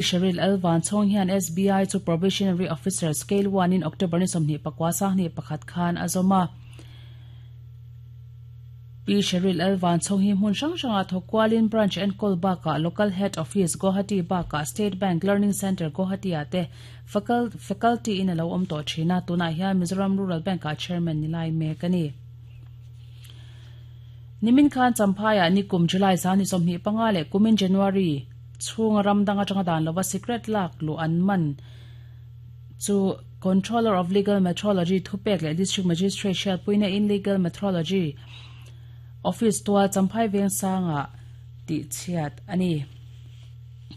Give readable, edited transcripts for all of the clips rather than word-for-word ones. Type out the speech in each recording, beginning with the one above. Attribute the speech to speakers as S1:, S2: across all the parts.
S1: Sheryl L. Vanchhawng hian SBI chu Probationary Officer Scale One in October ni 21 21 khan a zawm a. Pi Sheryl L. Vanchhawng hi hmun hrang hrangah thawk kualin Branch enkawl bakah Local Head Office, Guwahati bakah State Bank Learning Centre, Guwahati-ah te Faculty in a lo awm tawh thin a, tunah hian Mizoram Rural Bank-ah Chairman ni lai mek a ni. Nimin khan Champhaiah nikum July 25 leh kumin January chhunga ram dang atanga dan lova sikret lak luh an man chu Controller of Legal Metrology thupek leh District Magistrate hriatpuina in Legal Metrology Office tual Champhai Vengsanga tihchhiat a ni.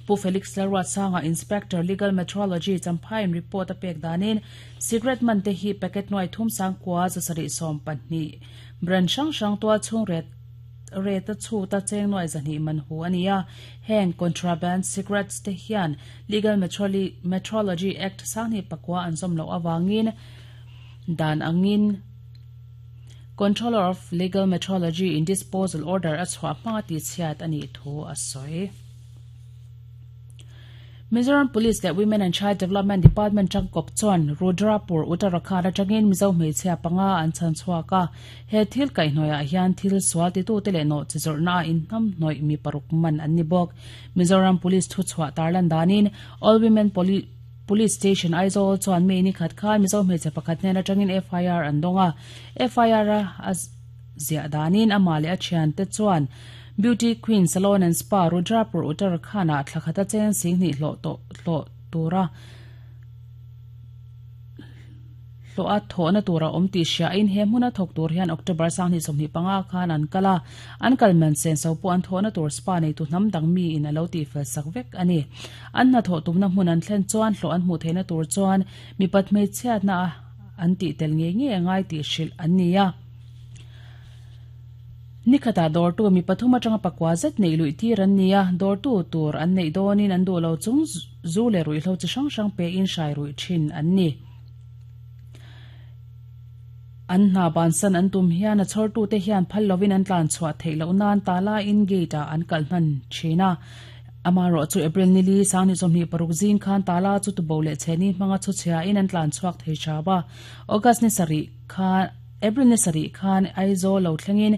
S1: Pu Felix Lalruatsanga Inspector Legal Metrology Champhaiin report a pek danin sikret man te hi packet nuai thum sangkua 712 brand hrang hrang tual chhung ret rate a chhut a cheng nuai 200 man hu a ni a. Heng contraband cigarettes te hian Legal Metrology Act 2009 an zawm loh avangin dan angin Controller of Legal Metrology in Disposal Order a chhuah hmanga tihchhiat a nih thu a sawi. Mizoram Police leh Women and Child Development Department tangkawp chuan Rudrapur, Uttarakhand atangin Mizo hmeichhia panga an chhan chhuak a. He thil kaihhnawihah hian thil sual titute leh nawhchi zawrhna a inhnamhnawih mi paruk man an ni bawk. Mizoram Police thuchhuah tarlan danin All Women Police Station Aizawl chuan mi nikhat khan Mizo hmeichhe pakhat hnen atangin FIR an dawng a. FIR a ziah danin amah leh a thiante chuan Beauty Queen Salon and Spa Rudrapur Uttarakhand-ah thla khata cheng 20,000 hlawh tawh hlawh tura hlawh a thawhna tur a awm tih hriain he hmuna thawk tur hian October 2025 khan an kal a, an kal man senso pawh an thawhna tur spa neitu hnam dang miin a lo tihfel sak vek a ni. An hnathawh tumna hmun an thlen chuan hlawh an hmuh theihna tur chuan mipat hmeichhiatna an tih tel ngei ngei a ngai tih hrilh an ni a. Nikhatah dawrtu mi pathum atanga pakua zet neih luih tir an ni a, dawrtu tur an neih dawnin an duh lo chung zu leh ruihhlo chi hrang hrang pein hrai ruih thin an ni. An hna bansan an tum hian a chhawrtute hian phal lovin an tlan chhuah theih loh nan tala in gate ah an kalh hman thin a. Amaherawh chu April nili 26 zing khan tala chu tubo leh chhehni hmanga chhuchhia in an tlan chhuak thei thap a. August ni sarih khan April ni sarih khan Aizawl lo thlengin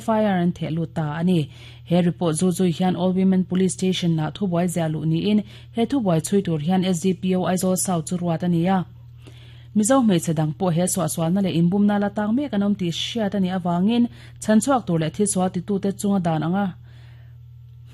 S1: FIR an theh lut ta a ni. He report zu zui hian All Women Police Station ah thubuai ziah luh niin he thubuai chhui tur hian SDPO Aizawl South chu ruat a ni a. Mizo hmeichhe dang pawh he suahsualna leh inbumna la tang mek an awm tih hriat a nih avangin chhanchhuak tur leh thilsual titute chunga dan anga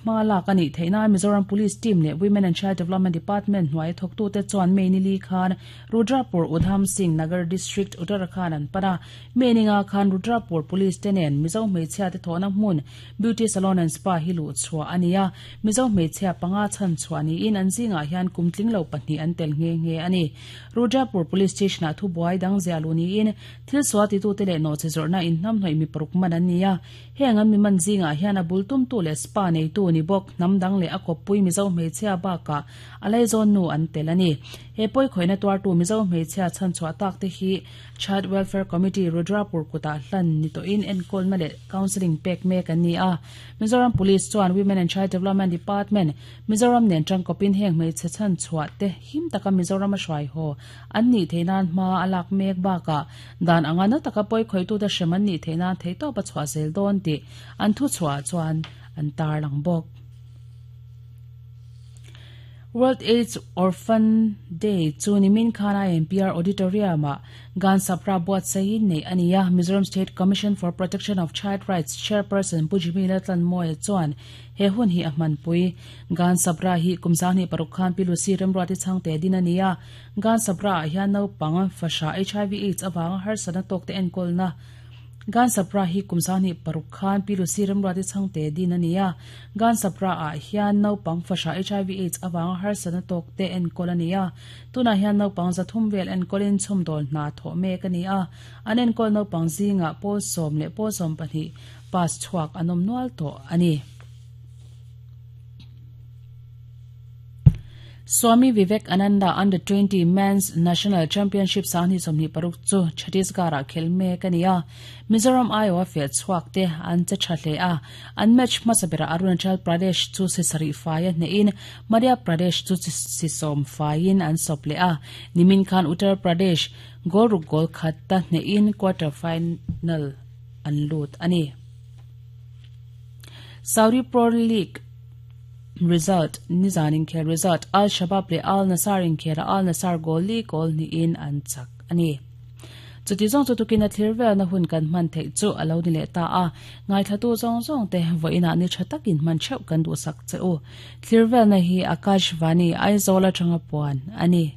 S1: Hma lak a nih theih nan Mizoram Police Team leh Women and Child Development Department hnuai thawktute chuan May ni li khan Rudrapur Udham Singh Nagar District, Uttarakhand an pan a. May ni nga khan Rudrapur Police te nen Mizo hmeichhia te thawhna hmun Beauty Salon and Spa hi luh chhuah a ni a. Mizo hmeichhia panga chhan chhuah niin an zingah hian kum tling lo pahnih an tel nghe nghe a ni. Rudrapur Police Station ah thubuai dang ziah luh niin thil sual titute leh nawhchi zawrhna inhnamhnawih mi paruk man an ni a. Heng an mi man zingah hian a bul tumtu leh spa neitu ni bawk, hnam dang leh a kawppui Mizo hmeichhia bakah a laizawn nu an tel a ni. He pawikhawihna tuartu Mizo hmeichhia chhanchhuah tak te hi Child Welfare Committee Rudrapur kutah hlan ni tawhin enkawlna leh counselling pek mek an ni a. Mizoram Police chuan Women and Child Development Department, Mizoram nen tangkawpin heng hmeichhe chhanchhuah te him taka Mizoram a hruai haw an nih theih nan hma a lak mek bakah Dan anga na taka pawi khawitute hrem an nih theih nan theihtawp a chhuah zel dawn tih an thuchhuah chuan an tarlang bawk. World AIDS Orphan Day chu nimin khan IMPR Auditorium-ah Gan Sapra buatsaiin neih a ni a. Mizoram State Commission for Protection of Child Rights Chairperson Pu Jimmy Laltlanmawia chuan he hun hi a hmanpui. Gan Sapra hi kum 26 khan Pi Lucy Remruati chhangte din a ni a. Gan Sabra ah hian naupang fahra HIV AIDS avanga harsatna tawkte enkawlna Gan Sabra hi kum 26 khan Pi Lucy Remruati chhangte din a ni a. Gan Sabra ah hian naupang fahra HIV AIDS avanga harsatna tawkte enkawl a ni a. Tunah hian naupang 300 vel enkawlin chhawmdawl hna thawh mek a ni a. An enkawl naupang zingah pawl 10 leh pawl 12 pass chhuak an awm nual tawh a ni. Swami Vivekananda Under 20 Men's National Championship 2026 chu Chhattisgarh-ah khelh mek a ni a. Mizoram aiawha feh chhuak te an che tha hle a, an match hmasa berah Arunachal Pradesh chu si sarih fai a hnehin Madhya Pradesh chu si sawm faiin an sawp leh a. Nimin khan Uttar Pradesh goal ruk goal khat ta hnehin quarter final an lut a ni. Saudi Pro League Result, Nizan inkhel result, Al Shabab leh Al Nassr inkhela Al Nassr goal li goal hnihin an chak a ni. Chuti zawng chu tukin a thlir velna hun kan hman theih chu a lo ni leh ta a, ngaithlatu zawng zawng te vawiinah ni tha takin hman theuh kan duhsak che u. Thlir velna hi Akash Vani, Aizawl atanga puan a ni.